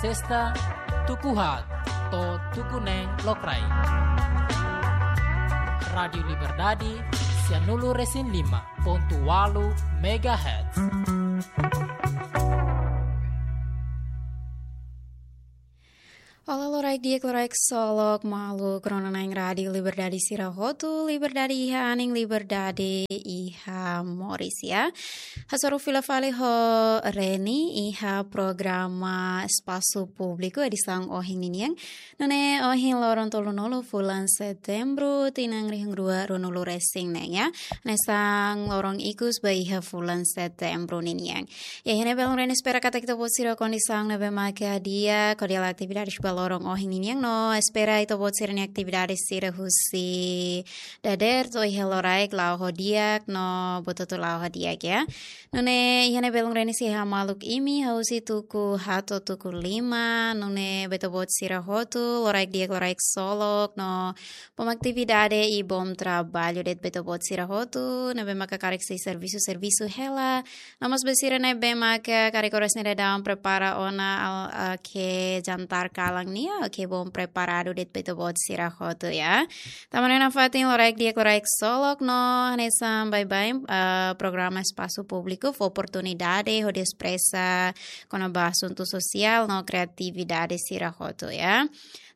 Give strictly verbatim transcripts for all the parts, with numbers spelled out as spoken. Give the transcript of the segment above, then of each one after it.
Sesta, tuku haat to'o tuku neen lokraik. Rádiu Liberdade, sianulu resin lima pontu ualu megahertz. Olá, loraik di'ak, loraik ksolok, maluk rona-na'in Rádiu Liberdade sira hotu, liberdade iha anin, liberdade iha moris, ya. Hasoru fila fali ho Reni iha programa Espasu Públiku edisaun ohin ninian. Nune'e ohin loron tolunulu fulan Setembru, tinan rihun rua ruanulu resin neen, ya. Hanesan loron ikus ba iha fulan Setembru ninian. Ya, iha ne'e belun Reni espera katak ita-boot sira kondisaun ne'ebé maka di'ak, hodi halo atividades ba loron ohin ninian no espera ita-boot sira-nia atividades sira husi dadeer to'o iha loraik la'o ho di'ak no buat hotu la'o ho di'ak, ya. Nune'e iha ne'e belun Reni sei hamaluk imi husi tuku haat to'o tuku lima, nune'e ba ita-boot sira hotu loraik di'ak, loraik ksolok no bom atividade i bom traballu de'it ba ita-boot sira hotu, ne'ebé maka karik sei servisu, servisu hela. No mós ba sira ne'ebé maka karik oras ne'e daudaun prepara ona al, ah, ke jantar kalan nian, oke, bom preparadu de'it ba ita-boot sira hotu, ya. Tanba ne'e nafatin loraik di'ak, loraik ksolok no hanesan baibain, ah, programa Espasu Públiku fó oportunidade hodi espresa kona-ba asuntu sosiál no kreatividade sira hotu, ya.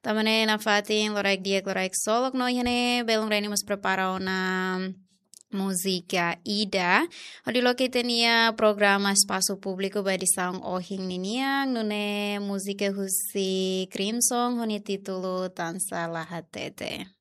Tanba ne'e nafatin loraik di'ak, loraik ksolok no iha ne'e belun Reni mós prepara ona múzika ida hodi loke ita-nia programa Espasu Públiku ba edisaun ohin ninian, nune'e múzika husi Crimson ho nia títulu Tan Sá La Hatete.